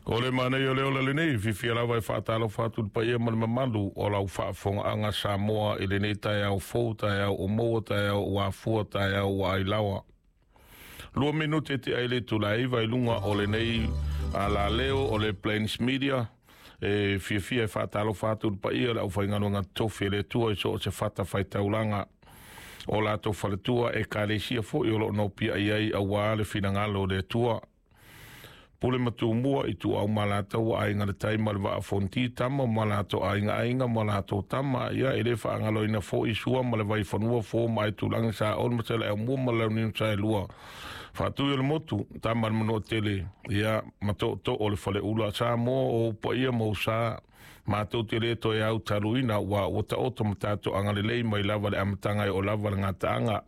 O le manaia o le ola lenei, fiafia lava e faatalofa atu i le paia ma le mamalu o lau faafofogaaga Samoa i lenei taeao fou, taeao ua maua, taeao ua afua, taeao ua ailaoa. 2 minute te ai le itula e 9 i luga o lenei alaleo o le Plains Media. E fiafia e faatalofa atu i le paia o le aufaigaluega totofi e le Atua i so o se fata faitaulaga o latou faletua ekalesia foi o loo nopiai ai auā le finagalo o le Atua. Pule ma Tumua, Ituau ma Alataua, Aiga i le Tai ma le Vaa o Fonoti, Tama ma latou aiga, aiga ma latou tama. Ia e le faagaloina foi Sua ma le Vaifanua, Fofo ma Aitulagi, Saole ma Saleaaumua ma le Launiu Saelua, Faatui o le Motu, Tama a le Manuatele, ia ma Tootoo o le Faleula. Samoa o ou paia ma ou sa matou te le toe au taluina, ua ua taoto ma tatou agalelei mai lava le amataga e o lava le gataaga.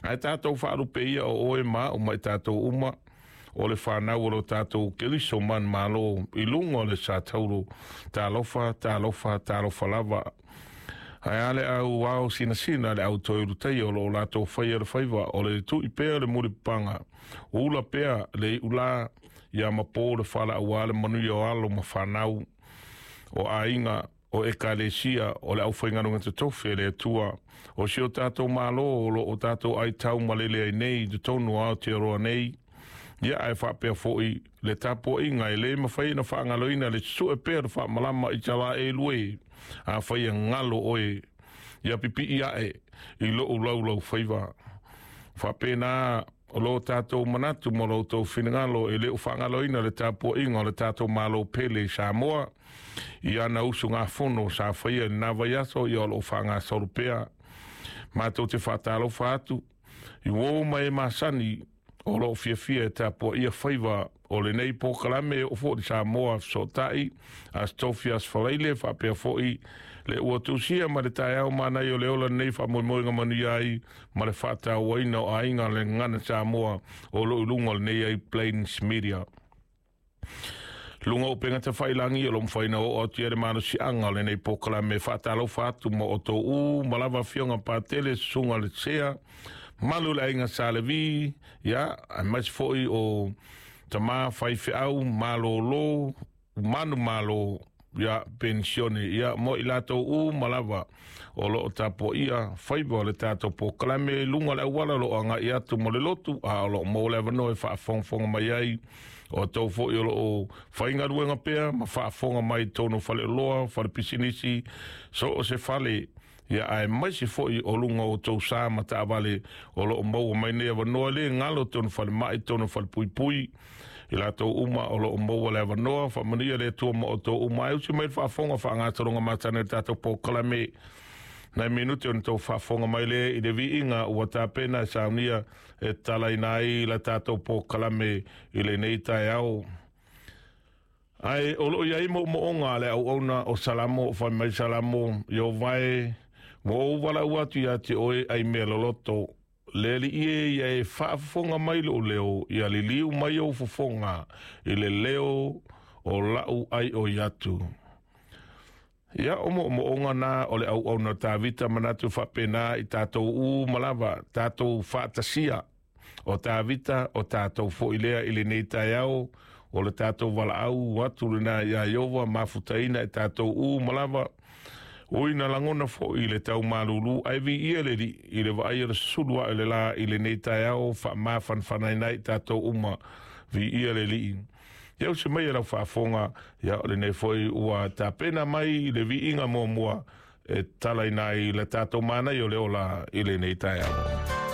Ae tatou faalupe ia o oe ma au ma i tatou uma o le fanau o lo tatou Keriso manumalo i luga o le satauro. Talofa, talofa, talofa lava. Ae a le au ao sinasina, le au toe ulutaia o loo latou faia le faiva o le tui pea le mulipapaga, ula pea le iulā ia ma po le fala auā le manuia o alo ma fanau o aiga o ekalesia o le aufaigaluega totofi e le Atua o si o tatou Malo o loo tatou aitau malele ai nei i totonu o Aotearoa nei. Ia ae faapea foi le tapuaiga e lē mafai ona faagaloina le sue pea le faamalama i Isaraelu e, afai e galo oe, ia pipii ae i lou laulau faiva. Faapena o lo tatou manatu ma lo outou finagalo e lē o faagaloina le tapuaiga o le tatou Malo pele i Samoa i ana usugafono sa faia i lena vaiaso. Ia o loo faagasolo pea. Matou te faatalofa atu i uō ma e masani o loo fiafia e tapuaia faiva o lenei polokalame o foʻi Samoa Fesootai Aso Tofi, Aso Faraile, faapea foʻi le ua tusia ma le taeao manaia o le ola lenei faamoemoega manuia ai ma le faatauaina o aiga le gagana Samoa o loo i luga o lenei ai Plains Media. Luga o upega tafailagi o lo mafaina oo atu ia le malosiaga o lenei polokalame. Faatalofa atu ma outou uma lava, afioga Patele, susuga le Sea malu le aiga Salevi, ia aemaise foi o tama faifeau malōlō manu malo ia penisione, ia mo i latou uma lava o loo tapuaia faiva o le tatou polokalame i luga o le auala o loo agai atu mo le lotu, a o loo maua le avanoa e faafogafoga mai ai. O tou foi o loo faigaluega pea ma faafofoga mai tonu faleoloa, fale pisinisi, so o se fale, ia aemaise foi o luga o tou sa ma taavale o loo maua mai nei avanoa. Le galo tonu falemai, tonu falepuipui, i latou uma o loo maua le avanoa. Faamanuia le Atua ma outou uma. Ai usi mai le faafofoga faagasologa masani o le tatou polokalame. Nai minute ona tou faafofoga mai le i le viiga ua tapena e saunia e talaina ai la tatou polokalame i lenei taeao. Ae o loo iai moomooga a le auauna o Salamo. Fai mai Salamo: "Ieova e, ua ou valaau atu ia te oe ai mea loloto. Le Alii e, ia e faafofoga mai lou leo, ia liliu mai ou fofoga i le leo o lau ai oi atu." Ia o moomooga na o le auauna o Tavita. Manatu faapena i tatou uma lava tatou faatasia o Tavita o tatou foi lea i lenei taeao. O le tatou valaau atu lena iā Ieova mafutaina e tatou uma lava. Ui na lagona foi i le tau malūlū, ae viia le Alii i le vaai o le sulu ae o le lā i lenei taeao faamafanafanaina ai tatou uma. Viia le Alii. Ia usi mai e lau faafofoga, ia o lenei foi ua tapena mai le viiga muamua e talaina ai le tatou manaia o le ola i lenei taeao.